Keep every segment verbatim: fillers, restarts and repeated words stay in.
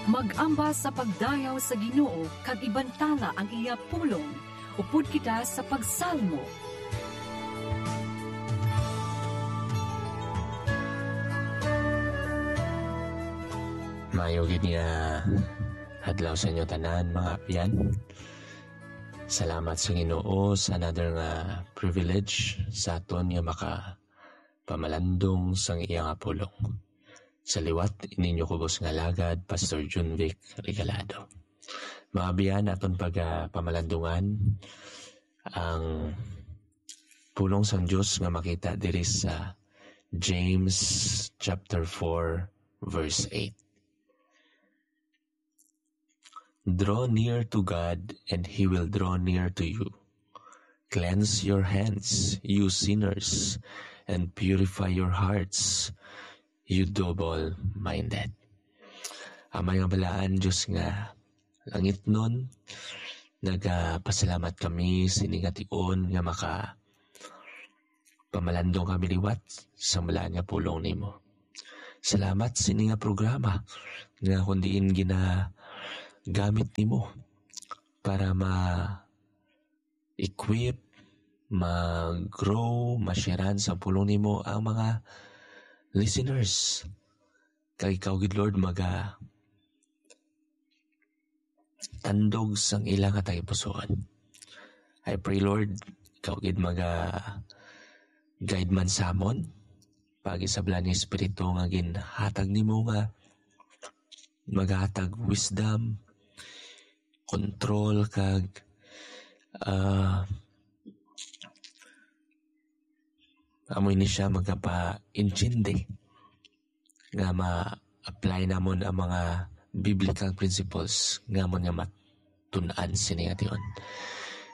Mag-ambas sa pagdayaw sa Ginoo kag ibantala ang iya pulong. Upod kita sa pagsalmo. Maayo gid nga adlaw sa inyo tanan, mga abyan. Salamat sa Ginoo sa another nga privilege sa aton nga makapamalandong sang iya nga pulong. Sa liwat, ininyo kubos nga alagad, Pastor Junvic Regalado. Mga abyan, aton pagpamalandungan ang pulong sang Dios nga makita diri sa James chapter four, verse eight. "Draw near to God, and He will draw near to you. Cleanse your hands, you sinners, and purify your hearts, you double-minded." Amay nga balaan, Dios nga langitnon, nagapasalamat kami sini nga tion nga maka pamalandong kami liwat sa balaan nga pulong nimo. Salamat sini nga programa nga kun diin ginagamit nimo para ma-equip, mag-grow, ma-sharean sa pulong nimo ang mga listeners. Kag ikaw gid, Lord, maga tandog sang ila nga tagipusoon. I pray, Lord, ikaw gid maga guide man samon, pagi sa Balaan nga Espiritu nga ginhatag nimo, nga maghatag wisdom, control, kag, ah, amo ini siya magapa-intindi nga ma-apply namon ang mga biblical principles nga amon nga matun-an sini nga tion.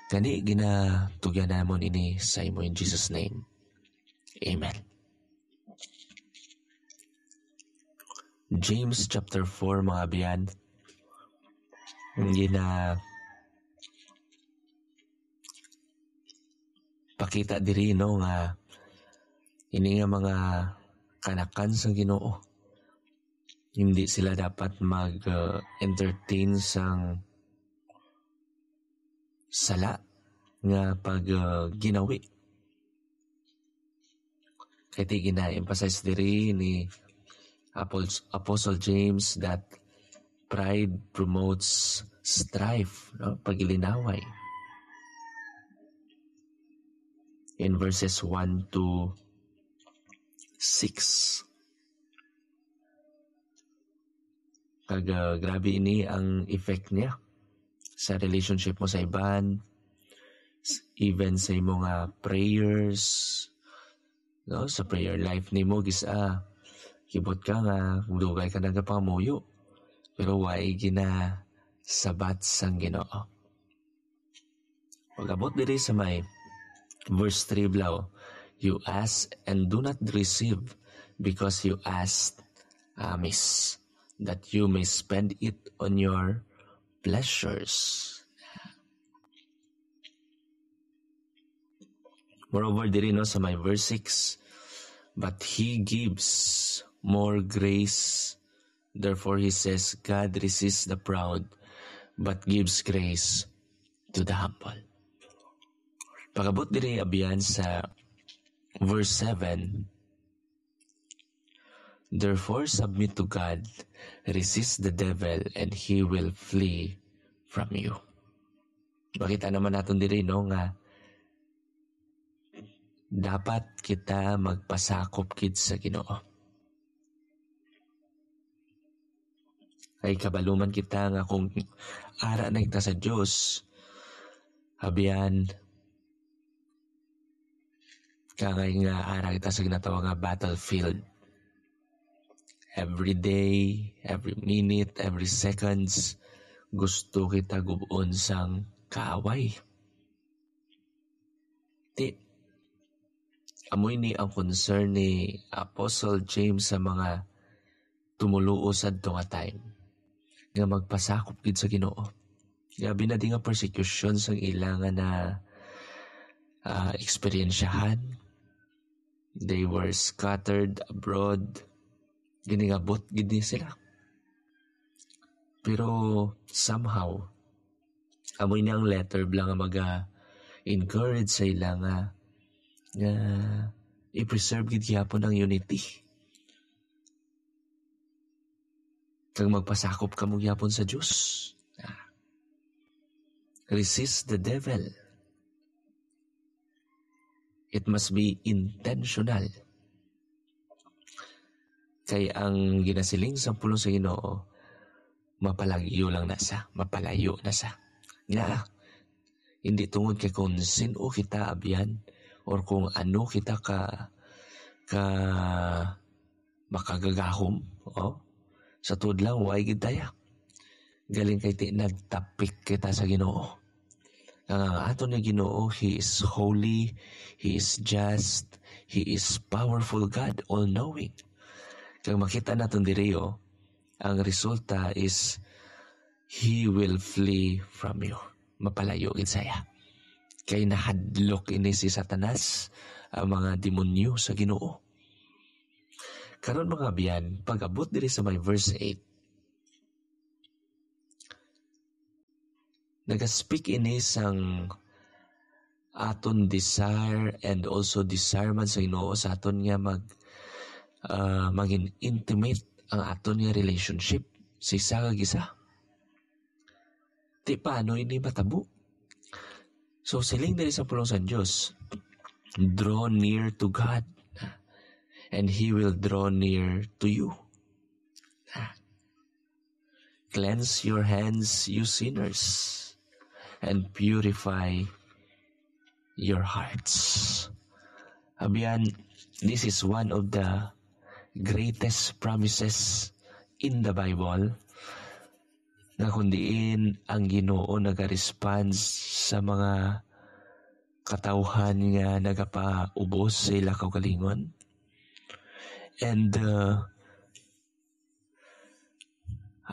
Gani, ginatugyan namon ini sa imo in Jesus' name. Amen. James chapter four, mga abyan, gina-, pakita diri, no, nga ini nga mga kanakan sang Ginoo, hindi sila dapat mag, uh, entertain sang sala nga pag, uh, ginawi. Kay ti gina-emphasize diri ni Apos-, Apostle James that pride promotes strife, no? Pagilinaway. In verses one to six. Kag, ah, grabe ini ang effect niya sa relationship mo sa iban, s-, even sa imo nga prayers, no? Sa prayer life nimo, gis-, ah, kibot ka nga dugay ka nagapangamuyo, pero way ginasabat sang Ginoo. Pag-abot diri sa may verse three, blaw, "You ask and do not receive, because you ask amiss, that you may spend it on your pleasures." Moreover, diri, no, sa may verse six, "But He gives more grace." Therefore, he says, "God resists the proud, but gives grace to the humble." Pag-abot diri, abyan, sa verse seven, "Therefore, submit to God, resist the devil, and he will flee from you." Makita naman naton diri, no, nga dapat kita magpasakop gid sa Ginoo. Ay, kabalo man kita nga kung ara na kita sa Dios, abyan, kangay nga ara kita sa ginatawag nga battlefield. Every day, every minute, every seconds, gusto kita gub-on sang kaaway. Ti, amo ini ang concern ni Apostle James sa mga tumoluo sadto nga time, nga magpasakop gid sa Ginoo. Grabe na di nga persecution sang ila nga na, ah, eksperyensyahan. They were scattered abroad. Giningabot gid ni sila. Pero somehow, amo ini ang letter bala nga maga-encourage sa ila nga, nga i-preserve gid gyapon ang unity. Kag magpasakop kamo gyapon sa Dios. Ah. Resist the devil. It must be intentional. Kay ang ginasiling sa pulong sa Ginoo, mapalayo lang na sa, mapalayo na sa. Nga, hindi tungod kay kung sino kita, abyan, or kung ano kita ka, ka makagagahom, oh, sa tuod lang, way gid daya. Galing kay ti nagtapik kita sa Ginoo. Ang, ang aton nga Ginoo, He is holy, He is just, He is powerful God, all-knowing. Kag makita naton diri, oh, ang resulta is, He will flee from you. Mapalayo gid saya. Kay nahadlok ini si Satanas, ang mga demonyo sa Ginoo. Karon, mga abyan, pag-abot diri sa may verse eight, naga-speak ini sang aton desire and also desire man sa Ginoo sa aton nga mag, ah, maging intimate ang aton nga relationship sa isa kag isa. Ti paano ini matabo? So, siling diri sa pulong sa Dios, "Draw near to God, and He will draw near to you." Cleanse your hands, you sinners, and purify your hearts. Abyan, this is one of the greatest promises in the Bible, nga kung diin ang Ginoo naga-respond sa mga katawhan nga nagapaubos sa ila kaugalingon. And, uh,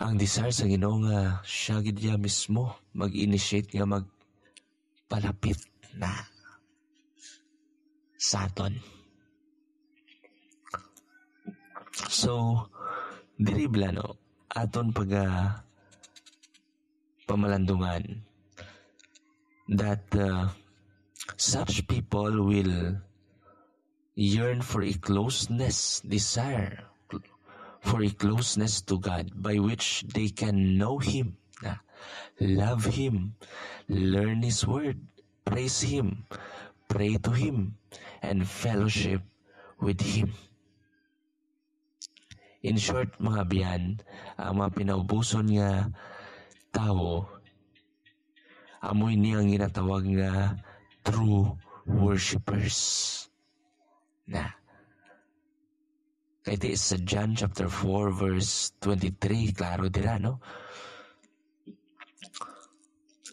ang desire sa Ginoo nga siya gid niya mismo mag-initiate nga magpalapit na sa aton. So, diri bala, no, aton pag, ah, pamalandungan that, uh, such people will yearn for a closeness, desire for a closeness to God by which they can know Him, ah, love Him, learn His Word, praise Him, pray to Him, and fellowship with Him. In short, mga abyan, ang mga pinaubuson nga tawo, amo ini ang ginatawag nga true worshipers. Na. Kay ti sa John chapter four, verse twenty-three, klaro dira, no?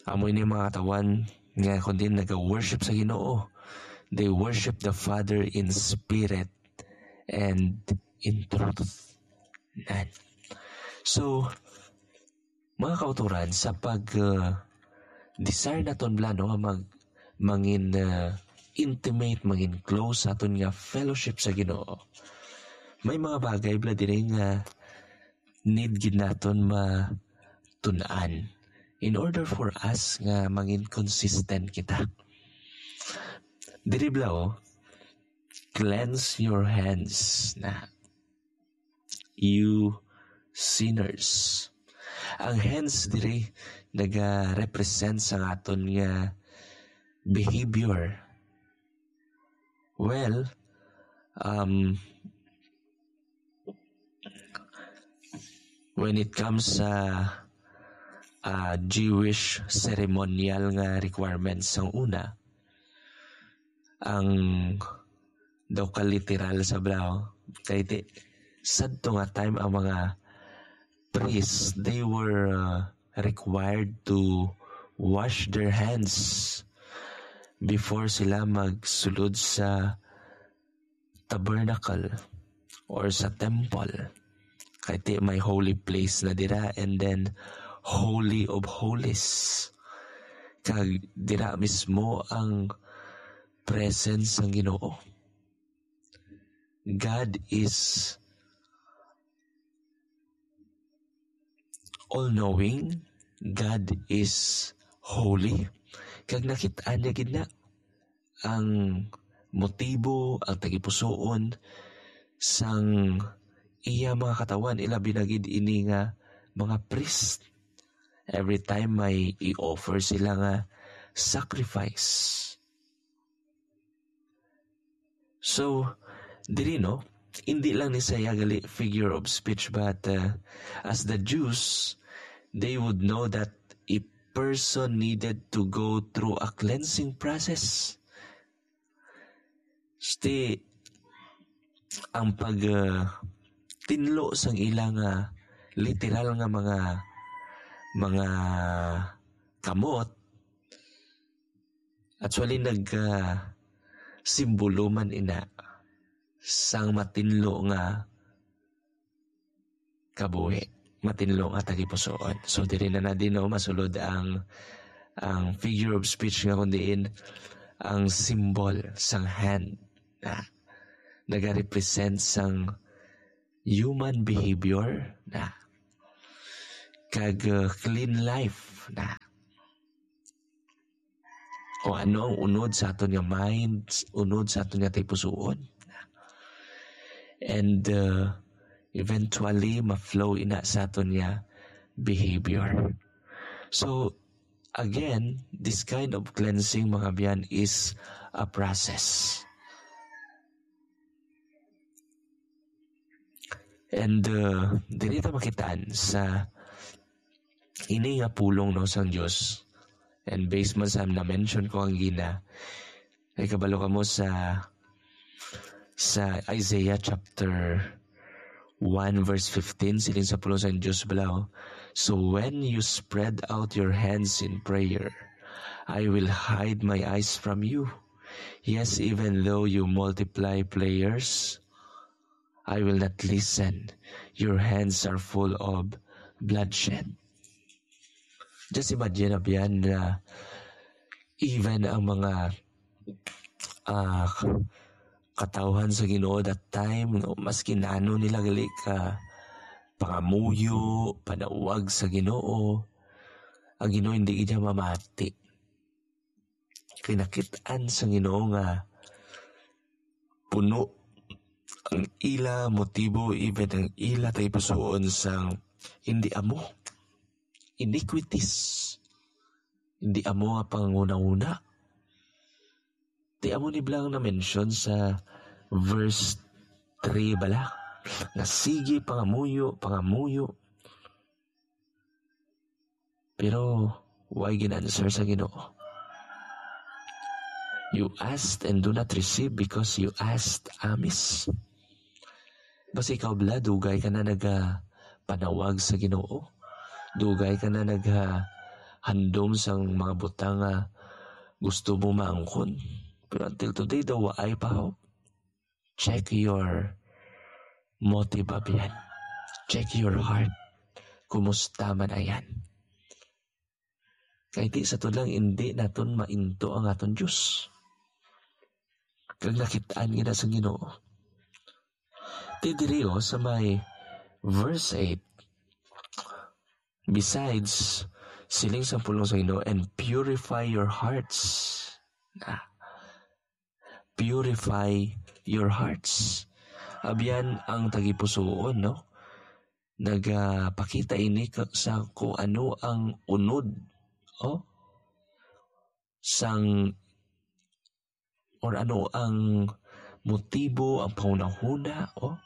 Amo ini mga katawan nga kundi naga-worship sa Ginoo. They worship the Father in spirit and in truth. Nan. So, mga kauturan, sa pag, uh, desire naton bala, no, nga mag-, mangin, uh, intimate, mangin close sa aton nga fellowship sa Ginoo, may mga bagay bala diri nga need gid naton matun-an in order for us nga mangin consistent kita. Diri bala, oh, "Cleanse your hands na, you sinners." Ang hands diri naga-represent sa aton nga behavior. Well, um, when it comes sa, ah, Jewish ceremonial nga requirements sang una, ang daw ka literal sa bala, kay ti, sadto nga time ang mga priests, they were, uh, required to wash their hands before sila magsulod sa tabernacle or sa temple. Kay ti may holy place na dira, and then holy of holies. Kag dira mismo ang presence sang Ginoo. God is all-knowing, God is holy. Kag nakit-an niya gid na ang motibo, ang tagipusoon sang iya mga katawhan, ilabi na gid ini nga mga priest. Every time may i-offer sila nga sacrifice. So, diri, no, hindi lang ni saya gali figure of speech, but, uh, as the Jews, they would know that a person needed to go through a cleansing process. Sti, ang pag, uh, tinlo sang ilang, uh, literal nga mga, mga kamot, actually, nag, ah, simbolo man ina sang matinlo nga kabuhi, matinlo nga tagipusoon. So, diri na na din, no, masulod ang, ang figure of speech nga, kun diin ang symbol sang hand na nagarepresent sang human behavior na kag, uh, clean life na. O ano ang unod sa aton nga mind, unod sa aton nga tagipusoon. And, uh, eventually, ma-flow ina sa aton nga behavior. So, again, this kind of cleansing, mga biyan, is a process. And, uh, diri ta makitaan sa ini nga pulong, no, sang Dios. And based man sa na-mention ko ang gina, ay kabalo kamo sa, sa Isaiah chapter one verse fifteen, siling sa pulong sang Dios balaw, "So when you spread out your hands in prayer, I will hide my eyes from you. Yes, even though you multiply players, I will not listen. Your hands are full of bloodshed." Just imagine, abyan, na even ang mga, ah, katawhan sa Ginoo that time, no, maski nano nila gali ka pangamuyo, panawag sa Ginoo, ang Ginoo hindi gid mamati. Kay nakit-an sa Ginoo nga puno ang ila motibo, even ang ila tagipusoon sang hindi amo, iniquities, hindi amo nga panghunahuna. Di amo ni bala ang na-mention sa verse three bala, nga sige, pangamuyo, pangamuyo. Pero why gin-answer sa Ginoo? "You asked and do not receive because you asked amiss." Basi ikaw bala, dugay ka na nagapanawag sa Ginoo. Dugay ka na nagahandom sang mga butang nga gusto mo maangkon. Pero until today, daw waay pa, ho. Check your motive, abyan. Check your heart. Kumusta man ayan? Kay di sa tulang, indi naton mainto ang aton Dios. Kag nakit-an gid na sa Ginoo. Ti diri, oh, sa may verse eight, besides, siling sang pulong sa Ginoo, "And purify your hearts." Ah, purify your hearts. Abyan ang tagipusoon, no? Nagapakita ini ka, sa kung ano ang unod, oh, sang, or ano ang motibo, ang panghunahuna, oh.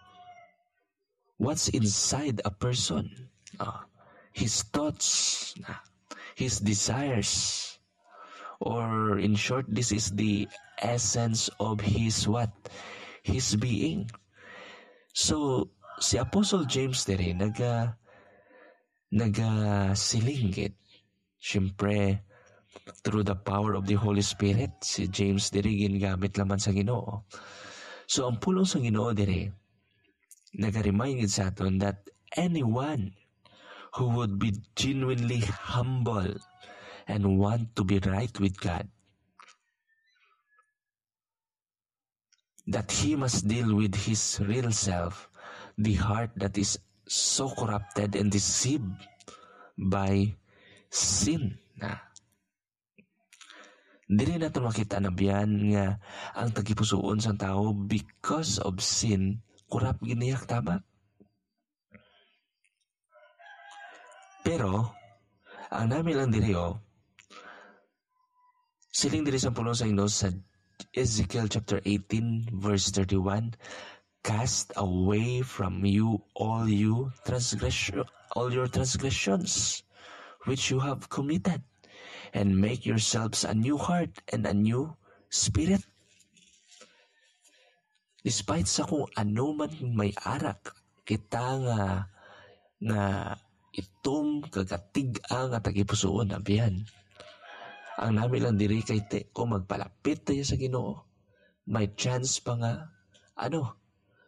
What's inside a person? Ah, his thoughts, ah, his desires. Or in short, this is the essence of his what? His being. So, si Apostle James diri naga-, nagasiling gid. Siyempre, through the power of the Holy Spirit, si James diri gingamit lamang sa Ginoo. So, ang pulong sa Ginoo diri, naga-remind gid sa aton that anyone who would be genuinely humble and want to be right with God, that he must deal with his real self, the heart that is so corrupted and deceived by sin. Na. Dili nato makita na biyan nga ang tagipusoon sang tawo because of sin, kurap gid niya, tama? Pero, ang nami lang diri, oh, siling diri sa pulong sa Ginoo sa Ezekiel chapter eighteen, verse thirty-one, "Cast away from you all you transgression, all your transgressions which you have committed, and make yourselves a new heart and a new spirit." Despite sa kung ano man may arak kita nga, nga itom kag katig-a nga tagipusoon, abihan. Ang nami lang diri kay te, kung magpalapit tayo sa Ginoo, may chance pa nga, ano,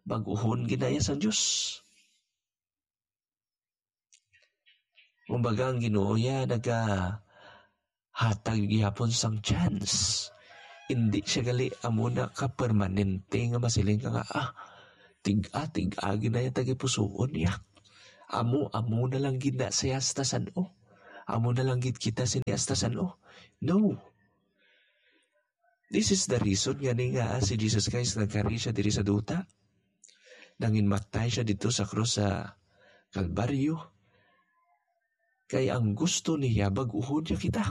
bag-uhon ginaya sang Dios. Kumbaga, ang Ginoo ya nagahatag gihapon sang chance. Hindi siya gali amo na ka permanente nga masiling ka nga, "Ah, tig-a, tig-a gid na yung tagipusoon niya. Amo, amo na lang gid na siya hasta san-o. Amo na lang gid kita sini hasta san-o." No. This is the reason nga ni nga si Jesus Christ nagkari siya diri sa duta. Nanginmatay siya dito sa krus sa Kalbaryo. Kay ang gusto niya, bag-uhon niya kita.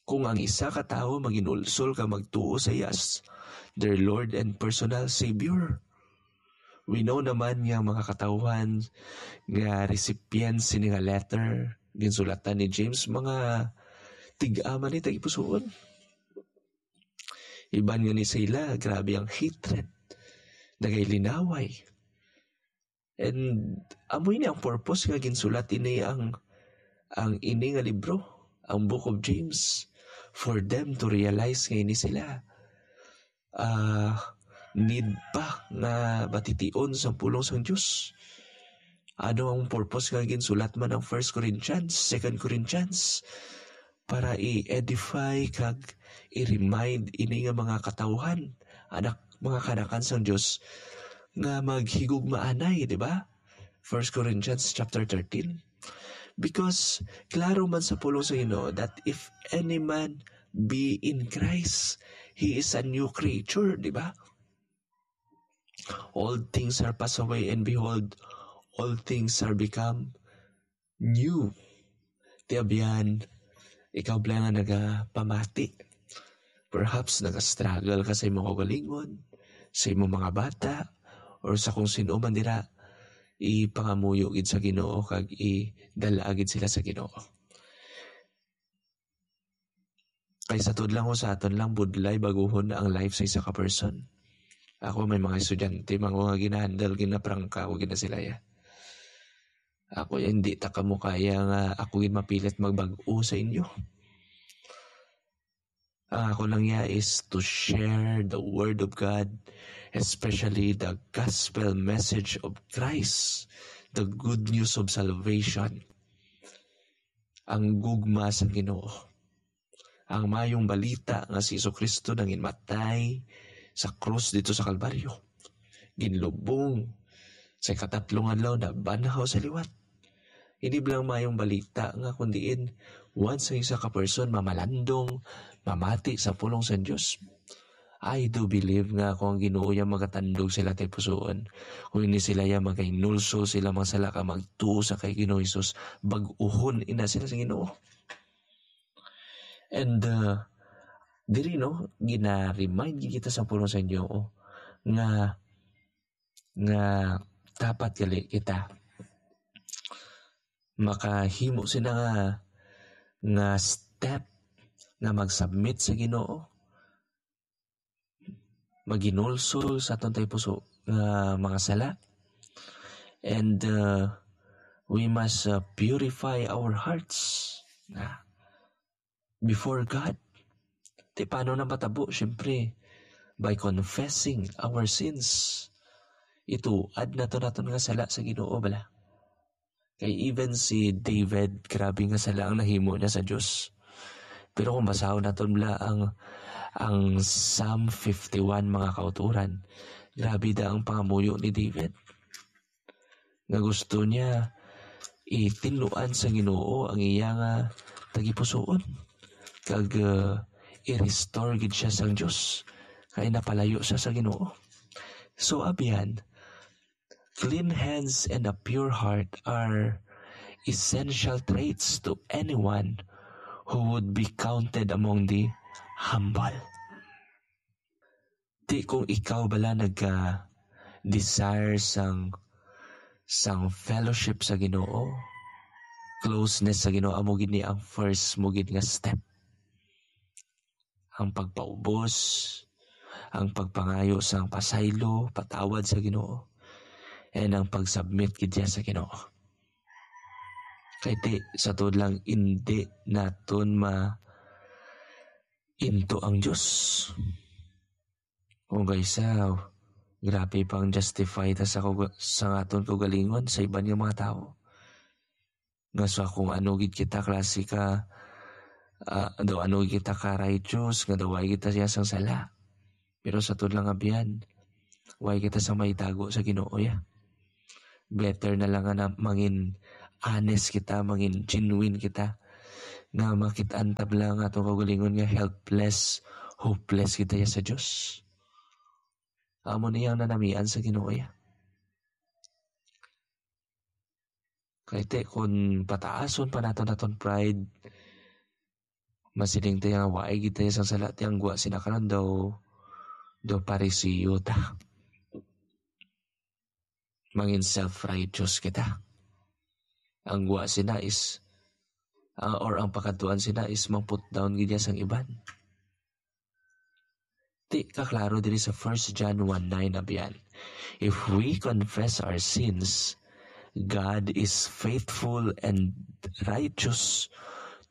Kung ang isa ka tawo maginulsol ka magtuo sa iya as their Lord and personal Savior. We know naman nga mga katawhan nga recipients sini nga letter, ginsulatan ni James, mga tig-a man ni tagipusoon. Iban nga ni sila, grabe ang hatred. Nagay linaway. And amo ini ang purpose nga ginsulat ini ang, ang ini nga libro, ang Book of James, for them to realize nga ini sila, ah, need pa nga batition sa pulong sang Dios. Ano ang purpose nga ginsulat man ang First Corinthians, Second Corinthians? Para i-edify kag i-remind ini nga mga katawhan, anak, mga kanakan sang Dios, nga maghigugmaanay, di ba? First Corinthians chapter thirteen. Because klaro man sa pulong sa Ginoo that if any man be in Christ, he is a new creature, di ba? Old things are passed away, and behold, all things are become new. Ti abyan, ikaw bala nga nagapamati. Perhaps nagastruggle ka sa imong kaugalingon, sa imong mga bata, or sa kung sino man dira, ipangamuyo gid sa Ginoo kag idala gid sila sa Ginoo. Kay sa tuod lang ko, sa aton lang budlay baguhon ang life sa isa ka person. Ako, may mga estudyante man ko nga ginahandle, ginaprangka ko gina sila ya. Ako, hindi ta kamo kaya nga ako gid mapilit magbag-o sa inyo. Ang ako lang ya is to share the word of God, especially the gospel message of Christ, the good news of salvation. Ang gugma sa Ginoo. Ang mayong balita nga si Jesu-Cristo nanginmatay sa krus dito sa Kalbaryo. Ginlubong sa ikatatlong adlaw, nabanhaw sa liwat. Hindi lang mayong balita nga kung diin once ang isa ka person mamalandong, mamati sa pulong sa Dios. I do believe nga kung ang Ginoo ya magatandog sila tay pusoon, kung hindi sila ya magainulso sila mga sala ka magtuo sa kay Ginoo Jesus, bag-uhon ina sila sa Ginoo. And, uh, diri, no, gina-remind gid kita sa pulong sa Ginoo nga, nga dapat gali kita makahimo sina nga, nga step nga mag-submit sa Ginoo, maginulsol sa aton tay puso nga mga sala. And, uh, we must, uh, purify our hearts na before God. Ti paano na matabo? Siyempre, by confessing our sins. Ituad nato naton nga sala sa Ginoo, bala. Kay even si David, grabe nga sala ang nahimo niya sa Dios. Pero kung basahon naton bala ang, ang Psalm fifty-one, mga kauturan, grabe da ang pangamuyo ni David. Nga gusto niya, itinluan sa Ginoo ang iya nga tagipusoon, kag, uh, i-restore gid siya sang Dios, kay napalayo siya sa Ginoo. So, abyan, clean hands and a pure heart are essential traits to anyone who would be counted among the humble. Di kung ikaw bala nagka-desire sang, sang fellowship sa Ginoo, closeness sa Ginoo, amo gid ni ang first mo gid nga step. Ang pagpaubos, ang pagpangayo sang pasaylo, patawad sa Ginoo, and ang pag-submit gid niya sa Ginoo. Kay ti, sa tuod lang, indi naton ma-, into ang Dios. Kung kaysa, grabe pang justify ta sa kog-, sa aton kaugalingon sa iban nga mga tawo. Nga sa kung ano gid kita klase ka, ah, daw ano gid kita ka righteous, nga daw way kita siya sang sala. Pero sa tuod lang, abyan, way kita sa maitago sa Ginoo, ya. Better na lang nga na mangin honest kita, mangin genuine kita, nga makit-an ta bala nga atong kaugalingon nga helpless, hopeless kita ya sa Dios. Amo ni ang nanamian sa Ginoo, ya. Kay ti, kun pataason pa naton aton pride, masiling tayo nga waay gid tayo sang sala, ti ang gwa sina karon daw, daw Pariseo ta. Mangin self-righteous kita. Ang gwa sina is, ah, or ang pakadtuan sina is mang-put down gid niya sang iban. Ti, kaklaro diri sa First John one nine, abyan, "If we confess our sins, God is faithful and righteous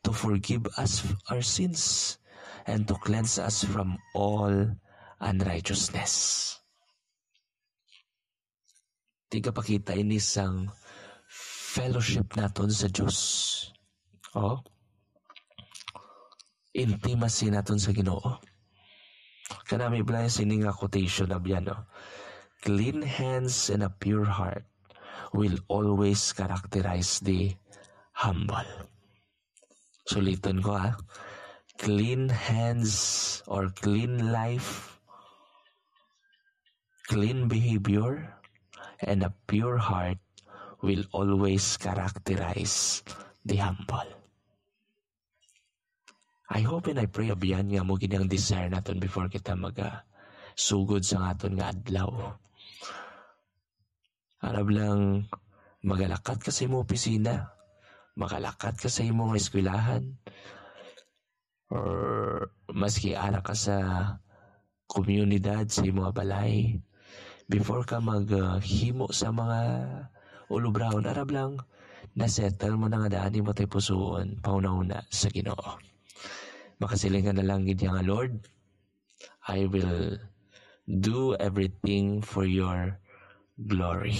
to forgive us our sins and to cleanse us from all unrighteousness." Tigapakita ini sang fellowship naton sa Dios. Oh? Intimacy naton sa Ginoo. Kanami bala sini nga quotation, abyan, no? "Clean hands and a pure heart will always characterize the humble." Suliton ko, ha. Clean hands or clean life, clean behavior, and a pure heart will always characterize the humble. I hope and I pray, abyan, nga amo gid ang desire naton before kita maga sugod sa aton nga adlaw. Arab lang, magalakat ka sa imong opisina, magalakat ka sa imong eskwelahan, or maski ara ka sa komunidad, sa imong balay, before ka mag, uh, himo sa mga ulubrahon, arab lang, nasettle mo na nga daan imo tay pusoon, pahunahuna sa Ginoo. Makasiling ka na lang gid nga, "Lord, I will do everything for your glory."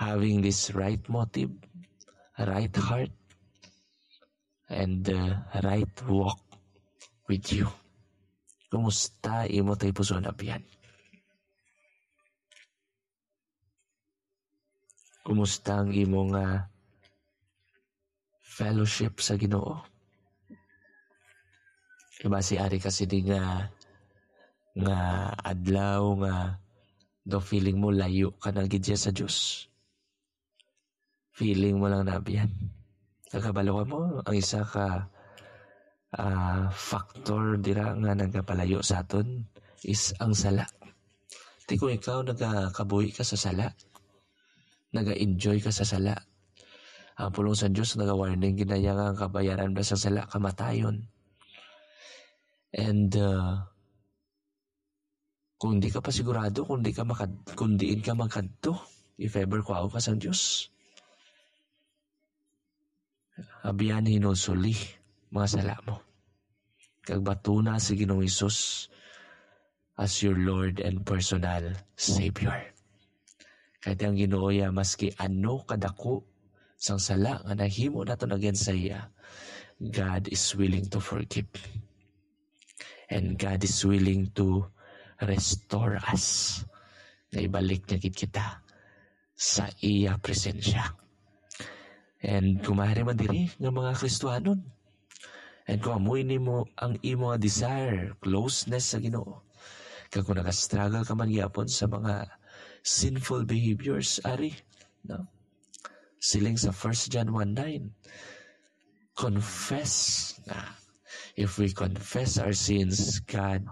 Having this right motive, right heart, and, uh, right walk with you. Kumusta imo tay puson, abyan? Kumusta ang imo nga fellowship sa Ginoo? Kay basi ari ka sini nga, nga adlaw nga do feeling mo layo ka na gid siya sa Dios. Feeling mo lang na biyan. Nakabalo ka mo, ang isa ka, ah, factor dira nga nagapalayo sa aton is ang sala. Ti kung ikaw nagakabuhi ka sa sala, naga-enjoy ka sa sala, ang pulong sa Dios naga-warning gid na iya nga ang kabayaran ba sa sala, kamatayon. And, uh, kung di ka pa sigurado, kung di ka makad-, kung diin ka magkadto, if ever kuhaon ka sang Dios, abiyan, hinulsoli mga sala mo. Kag batuna si Ginoong Hesus as your Lord and personal Savior. Kay ang Ginoo ya, maski ano kadako sang sala nga nahimo naton against sa iya, God is willing to forgive. And God is willing to restore us. Nga ibalik niya gid kita sa iya presensya. And kung maaari man diri nga mga Kristiyanon, and kung amo ini mo ang imo nga desire, closeness sa Ginoo, kag kung nagastruggle ka man gyapon sa mga sinful behaviors, ari, no? Siling sa First John one nine, confess na. If we confess our sins, God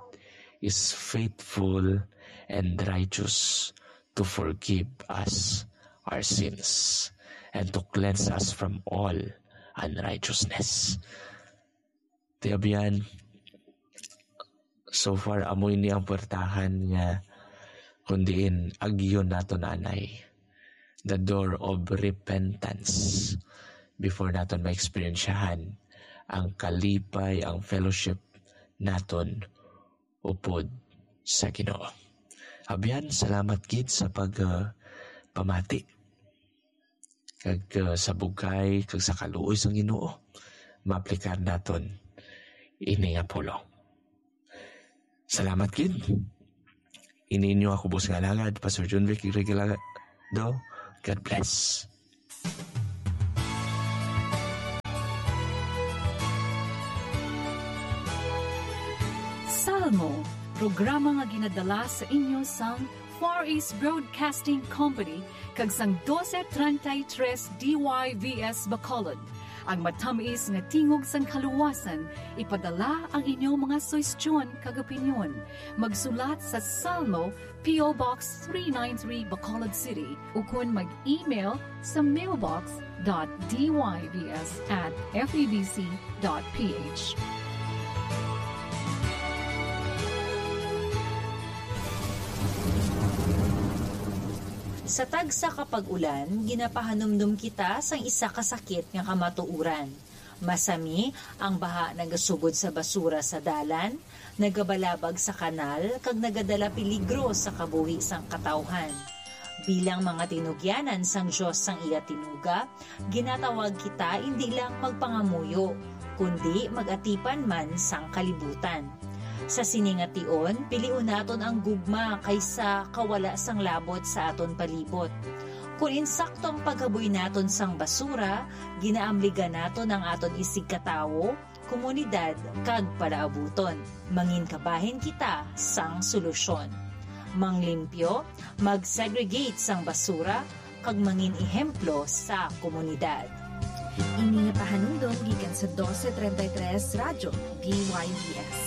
is faithful and righteous to forgive us our sins and to cleanse us from all unrighteousness. Ti abyan, so far, amo ini ang puwertahan nga kung diin agyon naton anay, the door of repentance, before naton maeksperiensyahan ang kalipay, ang fellowship naton upod sa Ginoo. Abyan, salamat gid sa pag, ah, pamati kag, ah, sa bugay kag sa kaluoy sang Ginoo, maaplikar naton ini nga pulong. Salamat gid. Ini inyo ako, boss nga alagad, Pastor John Vic Regalado. God bless. Salmo, programa nga ginadala sa inyo sang Far East Broadcasting Company kag sang doce treinta y tres D Y V S Bacolod. Ang matamis nga tingog sang kaluwasan, ipadala ang inyong mga suhestyon kag opinyon. Magsulat sa Salmo, P O Box three nine three, Bacolod City, ukon mag-email sa mailbox dot D Y V S at F E B C dot P H. Sa tagsa ka pag-ulan, ginapahanumdom kita sang isa ka sakit nga kamatuoran. Masami ang baha nagasugod sa basura sa dalan, nagabalabag sa kanal, kag nagadala peligro sa kabuhi sang katawhan. Bilang mga tinugyanan sang Dios sang iya tinuga, ginatawag kita indi lang magpangamuyo, kundi mag-atipan man sang kalibutan. Sa sini nga tion, pilion naton ang gugma kaysa kawala sang labot sa aton palibot. Kon insakto ang paghaboy naton sang basura, ginaamligan naton ang aton isigkatawo, komunidad, kag palaabuton. Mangin kabahin kita sang solusyon. Manglimpyo, mag-segregate sang basura, kag mangin ehemplo sa komunidad. Ini nga pahanumdom gikan sa doce treinta y tres Radyo D Y V S.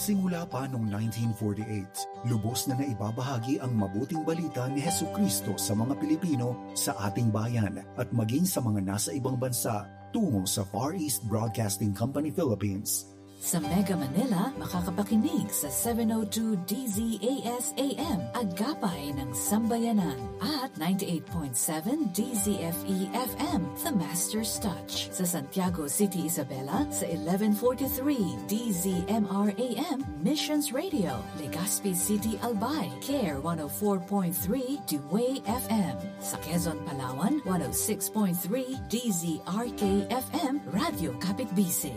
Simula pa noong nineteen forty-eight, lubos na naibabahagi ang mabuting balita ni Jesucristo sa mga Pilipino sa ating bayan at maging sa mga nasa ibang bansa tungo sa Far East Broadcasting Company Philippines. Sa Mega Manila, makakapakinig sa seven oh two D Z A S A M, Agapay ng Sambayanan, at ninety-eight point seven D Z F E F M, The Master's Touch. Sa Santiago City, Isabela, sa eleven forty-three D Z M R A M, Missions Radio, Legazpi City, Albay, Care one oh four point three, Dewey F M. Sa Quezon, Palawan, one oh six point three D Z R K F M, Radyo Kapitbisig.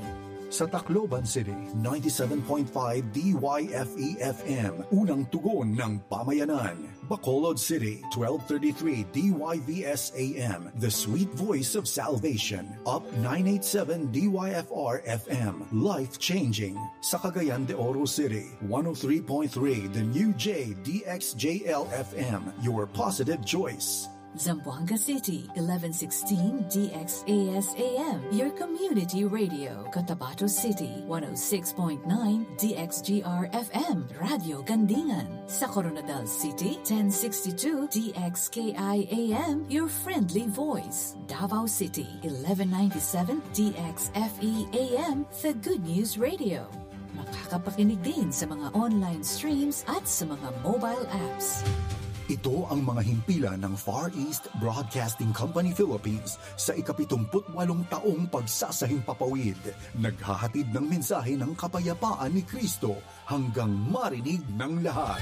Sa Tacloban City, ninety-seven point five D Y F E F M, Unang Tugon ng Pamayanan. Bacolod City, twelve thirty-three D Y V S A M, The Sweet Voice of Salvation. Up nine eight seven D Y F R F M, Life Changing. Sa Cagayan de Oro City, one oh three point three The New J D X J L F M, Your Positive Choice. Zamboanga City, eleven sixteen D X A S A M, your community radio. Cotabato City, one oh six point nine D X G R F M, Radyo Gandingan. Sa Koronadal City, ten sixty-two D X K I A M, your friendly voice. Davao City, eleven ninety-seven D X F E A M, The Good News Radio. Makakapakinig din sa mga online streams at sa mga mobile apps. Ito ang mga himpilan ng Far East Broadcasting Company Philippines sa ikapitumput walong taong pagsasahimpapawid. Naghahatid ng mensahe ng kapayapaan ni Kristo hanggang marinig ng lahat.